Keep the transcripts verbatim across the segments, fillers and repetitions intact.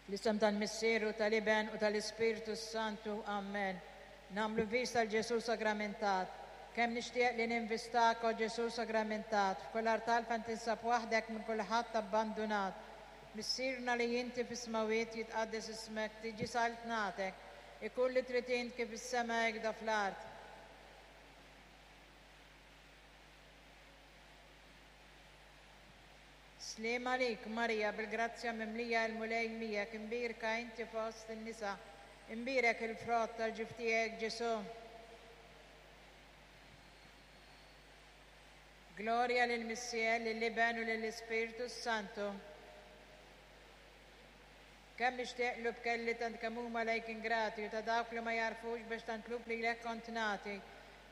Fl-isem tal-Missier u tal-Iben u tal-Ispirtu Santu. Amen. Nagħmlu vista 'l Ġesù Sagramentat. Kemm nixtieq li ninvistak, o Ġesù Sagramentat, f'kull artal fejn tinsab waħdek minn kulħadd abbandunat. Missierna li inti fis-smawiet, jitqaddes ismek, tiġi saltnatek, ikun li trid int kif is-sema hekk fl-art. Sliem għalik, Marija, bil-grazzja mimlija, il-Mulej miegħek, imbierka inti fost in-nisa, imbierek il-frott tal-ġuf tiegħek, Ġesù. Glorja lill-Missier, lill-Iben u lill-Ispirtu Santu. Kemm nixtieq lub kelli tant kemm huma lejk ingrati u ta' dawk li ma jarfux biex tant lub lilek kont nagħti.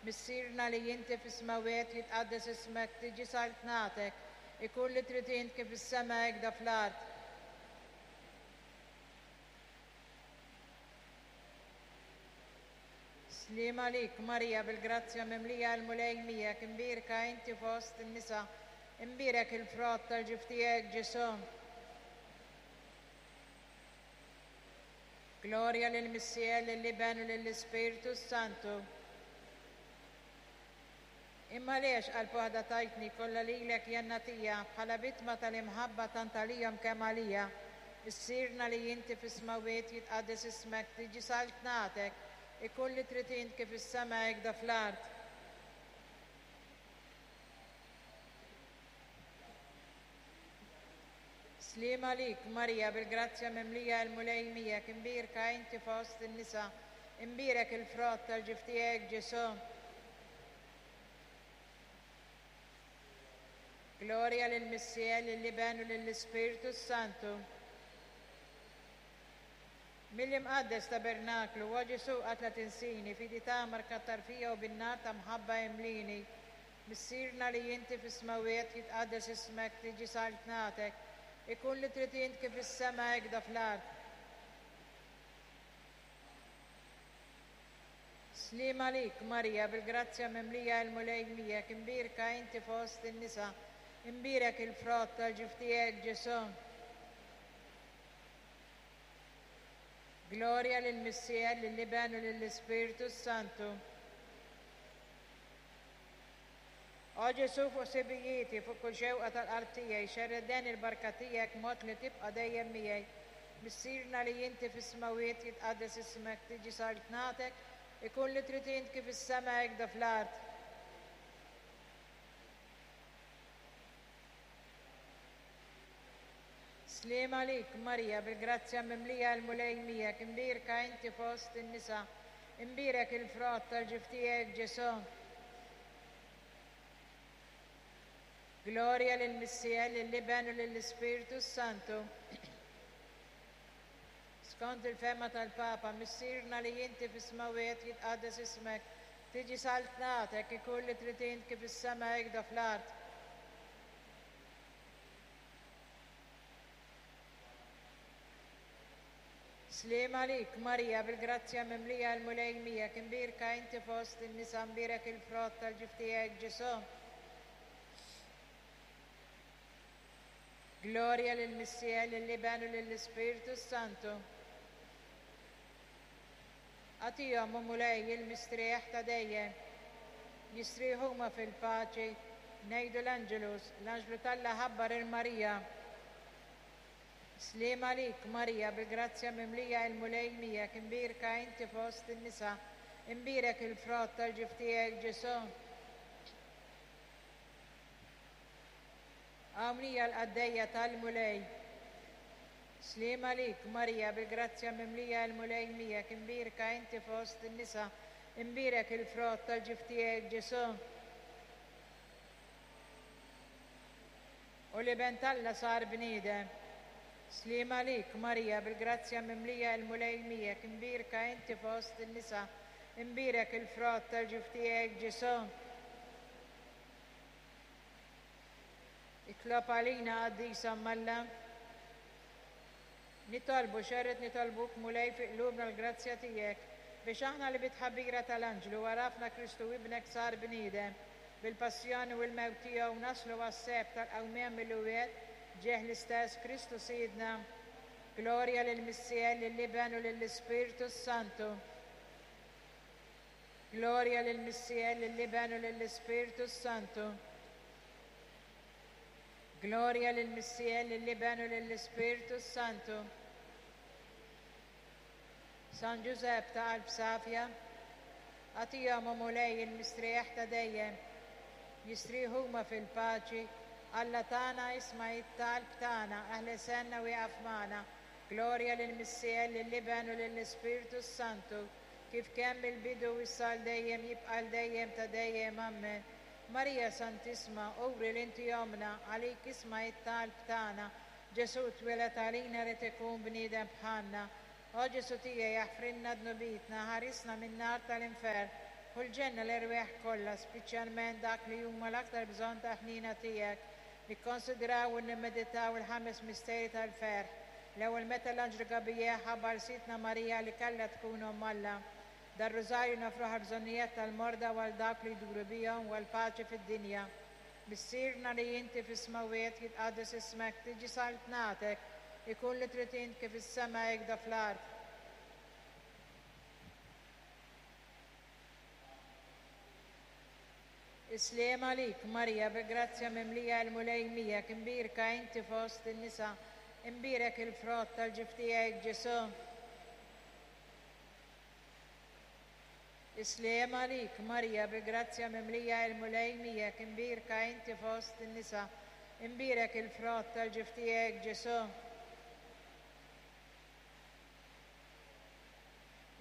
Missierna li inti fis-smawiet, jitqaddes ismek, tiġi saltnatek, ikun li trid int kif is-sema hekk fl-art. Sliem għalik, Marija, bil-grazzja mimlija, l-Mulej miegħek, imbierka inti fost in-nisa, imbierek il-frott tal-ġuf tiegħek, Ġesù. Glorja lill-Missier, lill-Iben u lill-Ispirtu Santu. Imma għaliex qalb waħda tajtni kollha lilek jien nagħtija bħala vittma tal-imħabba tant għalihom kemm għalija. Missierna li inti fis-smawiet, jitqaddes ismek, tiġi saltnatek, ikun li trid int kif is-sema hekk fl-art. Sliem għalik, Marija, bil-grazzja mimlija, l-Mulej miegħek, imbierka inti fost in-nisa, imbierek il-frott tal-ġuf tiegħek, Ġesù. Glorja lill-Missier, lill-Iben u lill-Ispirtu Santu. Mill-imqaddes tabernaklu, o Ġesù qatt la tinsini, fidi tagħmar kattar fija u bin-nar ta' mħabba imlini. Missierna li inti fis-smawiet, jitqaddes ismek, tiġi saltnatek, ikun li trid int kif is-sema hekk fl-art. Sliem għalik, Marija, bil-grazzja mimlija, l-Mulej miegħek, imbierka inti fost in-nisa, imbierek il-frott tal-ġuf tiegħek, Ġesù. Glorja lill-Missier, lill-Iben u lill-Ispirtu Santu. O Ġesù, fuq sibijieti, fuq kull xewqa tal-qalb tiegħi, xerred il-barka tiegħek mod li tibqa' dejjem miegħi. Missierna li inti fis-smawiet, jitqaddes ismek, tiġi saltnatek, ikun li trid int kif is-sema hekk fl-art. Sliem għalik, Marija, bil-grazzja mimlija, l-Mulej miegħek, imbierka inti fost in-nisa, imbierek il-frott tal-ġuf tiegħek, Ġesù. Glorja lill-Missier, lill-Iben u lill-Ispirtu Santu. Skont il-fehma tal-Papa, Missierna li inti fis-smawiet, jitqaddes ismek, tiġi saltnatek, ikun li trid int kif is-sema hekk fl-art. Sliem għalik, Marija, bil-grazzja mimlija, l-Mulej miegħek, imbierka inti fost in-nisa, imbierek il-frott tal-ġuf tiegħek, Ġesù. Glorja lill-Missier, lill-Iben u lill-Ispirtu Santu. Agħtihom, o Mulej, il-mistrieħ ta' dejjem. Jistrieħu huma fil-paċi. Ngħidu l-Angelus, l-Anġlu t'Alla ħabbar il Marija. Sliem għalik, Marija, bil-grazzja mimlija, il-Mulej miegħek, imbierka inti fost in-nisa, imbierek il-frott tal-ġuf tiegħek, Ġesù. Hawn hija l-qaddejja tal-Mulej. Sliem għalik, Marija, bil-grazzja mimlija, il-Mulej miegħek, imbierka inti fost in-nisa, imbierek il-frott tal-ġuf tiegħek, Ġesù. U l-Iben t'Alla sar bniedem. Sliem għalik, Marija, bil-grazzja mimlija, il-Mulej miegħek, imbierka inti fost in-nisa, imbierek il-frott tal-ġuf tiegħek, Ġesù. Itlob għalina, qaddisa Malla. Nitolbu, xerred nitolbuk, Mulej, fi qlubna l-grazzja tiegħek, biex aħna li bit-tħabbira tal-Anġlu għarafna Kristu ibnek sar bniedem, bil-passjoni u l-mewt tiegħu naslu għas-seb tal-qawmien mill-imwiet, ġieħ l-istess Kristu Sidna. Glorja lill-Missier, lill-Iben u lill-Ispirtu Santu. Glorja lill-Missier, lill-Iben u lill-Ispirtu Santu. Glorja lill-Missier, lill-Iben u lill-Ispirtu Santu. San Ġużepp ta' qalb safja, agħtihom o Mulej il-mistrieħ ta' dejjem. Jistrieħu huma fil-paċi. Alla tagħna isma' it-talb tagħna, aħlesenna u ieqaf magħna. Glorja lill-Missier, lill-Iben u lill-Ispirtu Santu, kif kemm il-bidu issa għal dejjem jibqa' għal dejjem ta' dejjem. Amen. Marija Santissima, uri li inti ommna, għalik isma' it-talb tagħna. Ġesu twieled għalina ried ikun bniedem bħalna. O Ġesu tiegħi aħfrilna dnubietna, ħarisna min-nar tal-infern, u l-ġenna l-erwieħ kollha, speċjalment dak li huma l-aktar bżonn ta' ħnina tiegħek. Nikkonsidraw u nimmeditaw il-ħames misteri tal-ferħ. L-ewwel meta l-Anġlu Gabriel ħabbar Sidtna Marija li kellha tkun omm Alla. Dar-rużarju noffruh għall-bżonnijiet tal-morda u għal dawk li jduru bihom u għall-paċi fid-dinja. Missierna li inti fis-smawiet, jitqaddes ismek, tiġi saltnatek, ikun li trid int kif is-sema hekk fl-art. Is-sliem għalik, Marija, bi grazzja mimlija l-Mulej miegħek, imbierka inti fost in-nisa, imbierek il-frott tal-ġuf tiegħek Ġesu. Is-sliem għalik, Marija, bi grazzja mimlija l-Mulej miegħek, imbierka inti fost in-nisa, imbierek il-frott tal-ġuf tiegħek Ġesu.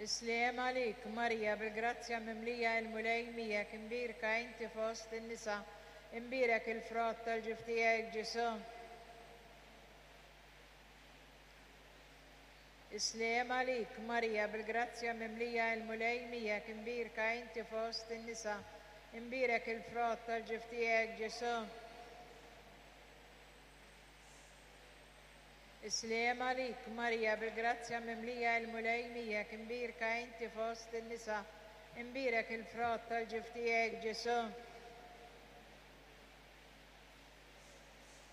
Is-sliem għalik, Marija, bil-grazzja mimlija l-Mulej miegħek, imbierka inti fost in-nisa, imbierek il-frott tal-ġuf tiegħek Ġesu. Is-sliem għalik, Marija, bil-grazzja mimlija l-Mulej miegħek, imbierka inti fost in-nisa, imbierek il-frott tal-ġuf tiegħek Ġesu. Is-sliem għalik, Marija, bil-grazzja mimlija l-Mulej miegħek, imbierka inti fost in-nisa, imbierek il-frott tal-ġuf tiegħek Ġesu.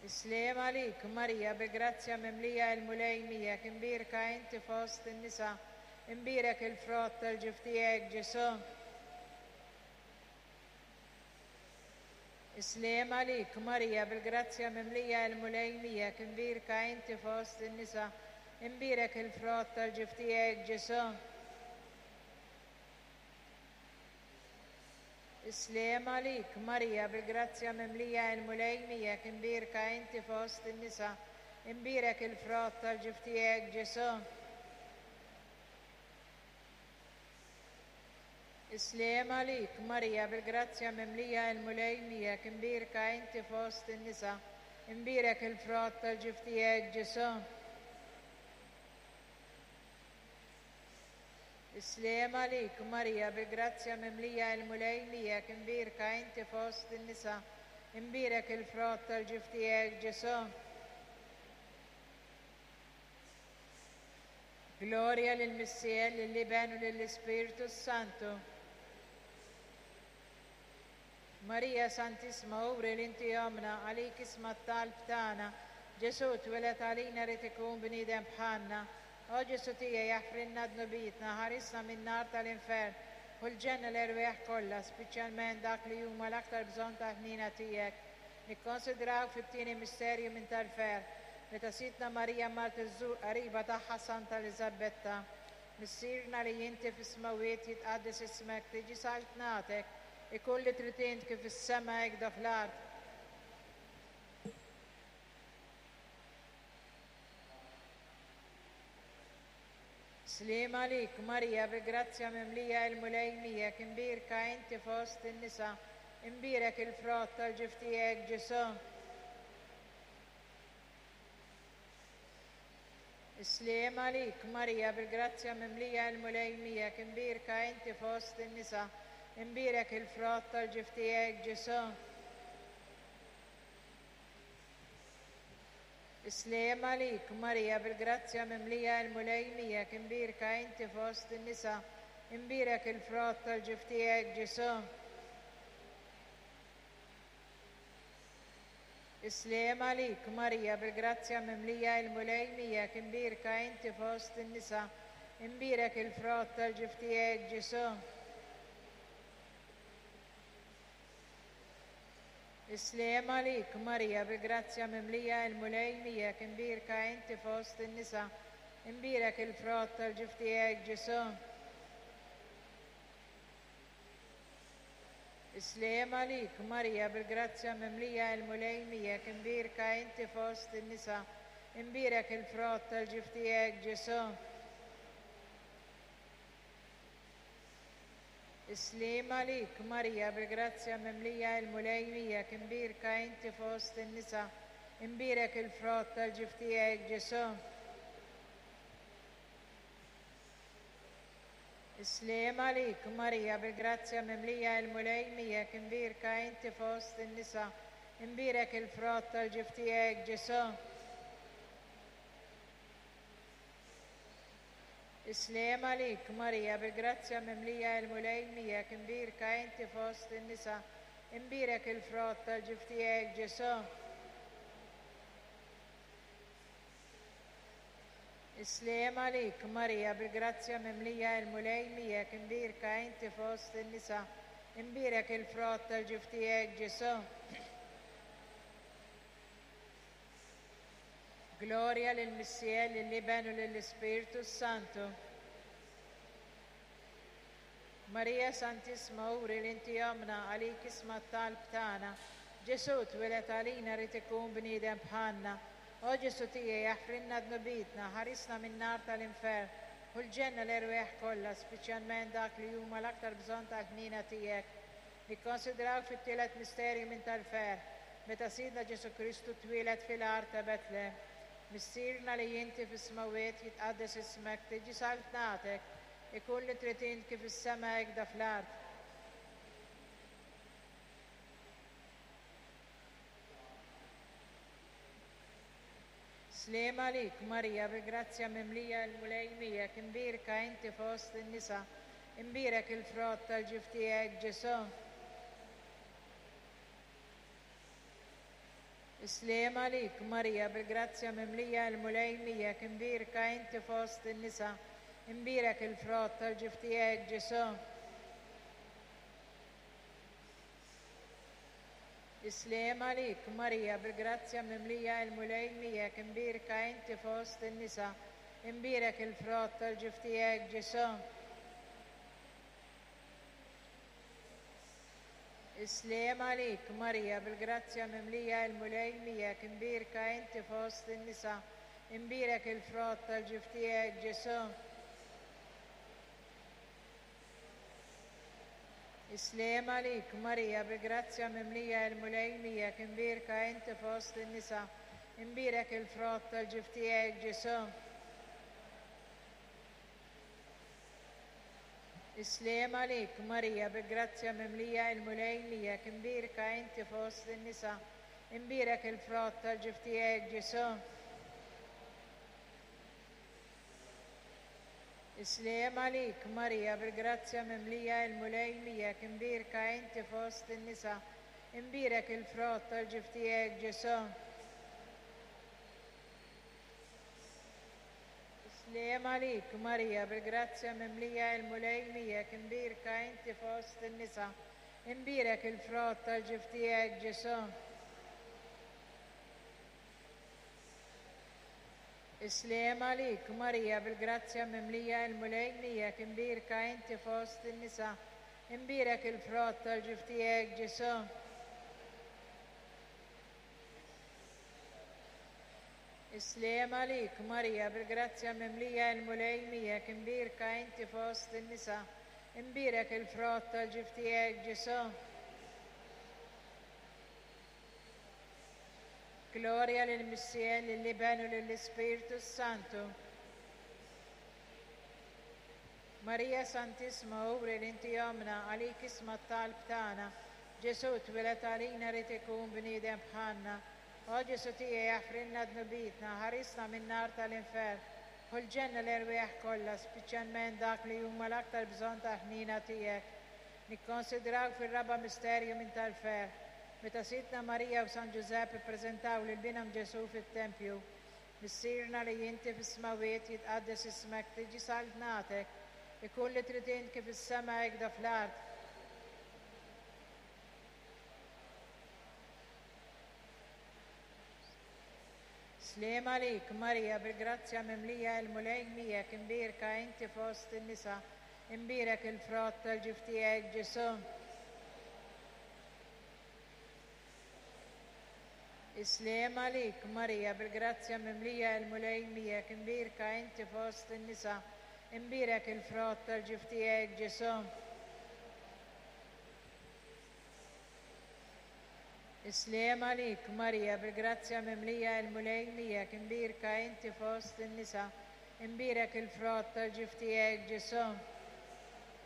Is-sliem għalik, Marija, bil-grazzja mimlija l-Mulej miegħek, imbierka inti fost in-nisa, imbierek il-frott tal-ġuf tiegħek Ġesu. Is-sliem għalik, Marija, bil-grazzja mimlija l-Mulej miegħek, imbierka inti fost in-nisa, imbierek il-frott tal-ġuf tiegħek Ġesu. Is-sliem għalik, Marija, bil-grazzja mimlija l-Mulej miegħek, imbierka inti fost in-nisa, imbierek il-frott tal-ġuf tiegħek Ġesu. Is-sliem għalik, Marija, bil-grazzja mimlija l-Mulej miegħek, imbierka inti fost in-nisa, imbierek il-frott tal-ġuf tiegħek Ġesu. Is-sliem għalik, Marija, bil-grazzja mimlija l-Mulej miegħek, imbierka inti fost in-nisa, imbierek il-frott tal-ġuf tiegħek Ġesu. Glorja lill-Missier, lill-Iben u lill-Ispirtu Santu. Marija Santissima, uri li inti ommna, għalik isma' t-talb tagħna. Ġesu twieled għalina ried ikun bniedem bħalna. O Ġesu tiegħi aħfrilna dnubietna, ħarisna min-nar tal-infern, u l-ġenna l-erwieħ kollha, speċjalment dak li huma l-aktar bżonn ta' ħnina tiegħek. Nikkonsidraw fit-tieni misterju minn tal-ferħ, meta Sidtna Marija mart iżżur qariba tagħha Santa Eliżabetta. Missierna li inti fis-smawiet, jitqaddes ismek, tiġi saltnatek, ikun li trid int kif is-sema hekk fl-art. Sliem għalik, Marija, bi grazzja mimlija l-Mulej miegħek, imbierka inti fost in-nisa, imbierek il-frott tal-ġuf tiegħek Ġesu. Is-sliem għalik, Marija, bil-grazzja mimlija l-Mulej miegħek, imbierka inti fost in-nisa, imbierek il-frott tal-ġuf tiegħek Ġesu. Is-sliem għalik, Marija, bil-grazzja mimlija l-Mulej miegħek, imbierka inti fost in-nisa, imbierek il-frott tal-ġuf tiegħek Ġesu. Is-sliem għalik, Marija, bil-grazzja mimlija il-Mulej miegħek, imbierka inti fost in-nisa, imbierek il-frott tal-ġuf tiegħek, Ġesù. Is-sliem għalik, Marija, bil-grazzja mimlija il-Mulej miegħek, imbierka inti fost in-nisa, imbierek il-frott tal-ġuf tiegħek, Ġesù. Is-sliem għalik, Marija, bil-grazzja mimlija il-Mulej miegħek, imbierka inti fost in-nisa, imbierek il-frott tal-ġuf tiegħek, Ġesù. Is-sliem għalik, Marija, bil-grazzja mimlija il-Mulej miegħek, imbierka inti fost in-nisa, imbierek il-frott tal-ġuf tiegħek, Ġesù. Is-sliem għalik, Marija, bil-grazzja mimlija il-Mulej miegħek, imbierka inti fost in-nisa, imbierek il-frott tal-ġuf tiegħek, Ġesù. Is-sliem għalik, Marija, bil-grazzja mimlija il-Mulej miegħek, imbierka inti fost in-nisa, imbierek il-frott tal-ġuf tiegħek, Ġesù. Is-sliem għalik, Marija, bil-grazzja mimlija il-Mulej miegħek, imbierka inti fost in-nisa, imbierek il-frott tal-ġuf tiegħek, Ġesù. Gloria lill-Missier, lill-Iben u lill-Ispirtu Santu. Marija Santissima, uri li inti ommna, għalik isma' t-talb tagħna. Ġesù twieled għalina rid ikun bniedem bħalna. O Ġesù tiegħi, aħfrilna dnubietna, ħarisna min-nar tal-infern, u l-ġenna l-erwieħ kollha, speċjalment dak li huma l-aktar bżonn tal-ħniena tiegħek. Nikkonsidraw fit-tielet misterju minn tal-ferħ, meta Sidna Ġesù Kristu twieled fil-għar ta' Betlem. Missierna li inti fis-smewwiet, jitqaddes ismek, tiġi saltnatek, ikun li trid int kif is-sema hekk da fl-art. Sliem għalik, Marija, bil-grazzja mimlija il-Mulej miegħek, imbierka inti fost in-nisa, imbierek il-frott tal-ġuf tiegħek, Ġesù. Is-sliem għalik, Marija, bil-grazzja mimlija il-Mulej miegħek, imbierka inti fost in-nisa, imbierek il-frott tal-ġuf tiegħek, Ġesù. Is-sliem għalik, Marija, bil-grazzja mimlija il-Mulej miegħek, imbierka inti fost in-nisa, imbierek il-frott tal-ġuf tiegħek, Ġesù. Is-sliem għalik, Marija, bil-grazzja mimlija il-Mulej miegħek, imbierka inti fost in-nisa, imbierek il-frott tal-ġuf tiegħek, Ġesù. Is-sliem għalik, Marija, bil-grazzja mimlija il-Mulej miegħek, imbierka inti fost in-nisa, imbierek il-frott tal-ġuf tiegħek, Ġesù. Is-sliem għalik, Marija, bil-grazzja mimlija il-Mulej miegħek, imbierka inti fost in-nisa, imbierek il-frott tal-ġuf tiegħek, Ġesù. Is-sliem għalik, Marija, bil-grazzja mimlija il-Mulej miegħek, imbierka inti fost in-nisa, imbierek il-frott tal-ġuf tiegħek, Ġesù. Is-sliem għalik, Marija, bil-grazzja mimlija il-Mulej miegħek, imbierka inti fost in-nisa, imbierek il-frott tal-ġuf tiegħek, Ġesù. Is-sliem għalik, Marija, bil-grazzja mimlija il-Mulej miegħek, imbierka inti fost in-nisa, imbierek il-frott tal-ġuf tiegħek, Ġesù. Is-sliem għalik, Marija, bil-grazzja mimlija il-Mulej miegħek, imbierka inti fost in-nisa, imbierek il-frott tal-ġuf tiegħek, Ġesù. Gloria lill-Missier, lill-Iben u lill-Ispirtu Santu. Marija Santissima, uri li inti ommna, għalik isma' t-talb tagħna. Ġesù twieled għalina rid ikun bniedem bħalna. O Ġesù tiegħi, aħfrilna dnubietna, ħarisna min-nar tal-infern, u l-ġenna l-erwieħ kollha, speċjalment dak li huma l-aktar bżonn tal-ħniena tiegħek. Nikkonsidraw fir-raba' misterju minn tal-ferħ, Meta Sidtna Marija u San Ġużepp ippreżentaw lil binhom Ġesù fit-tempju, Missierna li inti fis-smawiet jitqaddes ismek, tiġi saltnatek, ikun li trid int kif is-sema hekk fl-art. Sliem għalik, Marija, bil-grazzja mimlija il-Mulej miegħek, imbierka inti fost in-nisa, imbierek il-frott tal-ġuf tiegħek Ġesù. Isliem għalik, Marija, bil-grazzja mimlija il-Mulej miegħek, imbierka inti fost in-nisa, imbierek il-frott tal-ġuf tiegħek Ġesù. Isliem għalik, Marija, bil-grazzja mimlija il-Mulej miegħek, imbierka inti fost in-nisa, imbierek il-frott tal-ġuf tiegħek Ġesù.